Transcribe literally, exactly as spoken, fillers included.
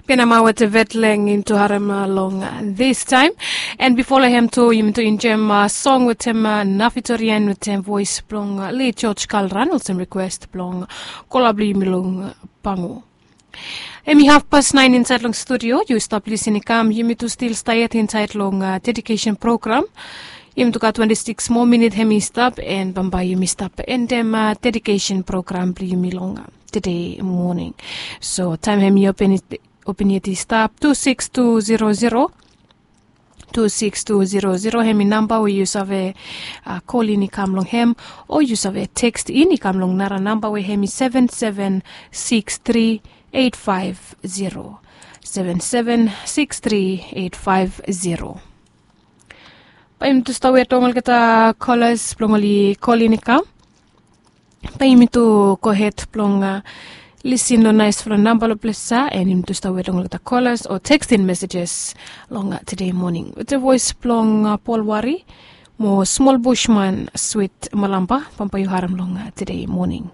Benama wetem vetleng into harem long this time. And before lehem to yumi to enjoy song wetem nafitorian wetem voice blong li George Kalran olsem request blong kola blong yumi long pangu. Em i half past nine inside long studio. You stop listening come yumi to still stay at inside long dedication program. Yumi to got twenty-six more minute hem i stop and bambai yumi stop and dem dedication program blong yumi long today morning. So time hem i open it open yet i stap tu six tu zero zero. Tu six tu zero zero hem i namba we yu save kol in i kam long hem o yu save tekst in i kam long nara namba we hem i seven seven six tri eight five zero. Seven seven six tri eight five zero. Bai yumi tu stap wet long olgeta kolas blong oli kol in i kam. Bai yumi tu gohed blong lisin long naisfala namba long ples ya and yumi tu stap wet long olgeta kolas o tekstin mesejes long tude moning wetem voes blong pol wari mo smol bushman swit malamba. Bambae yu harem long tude moning.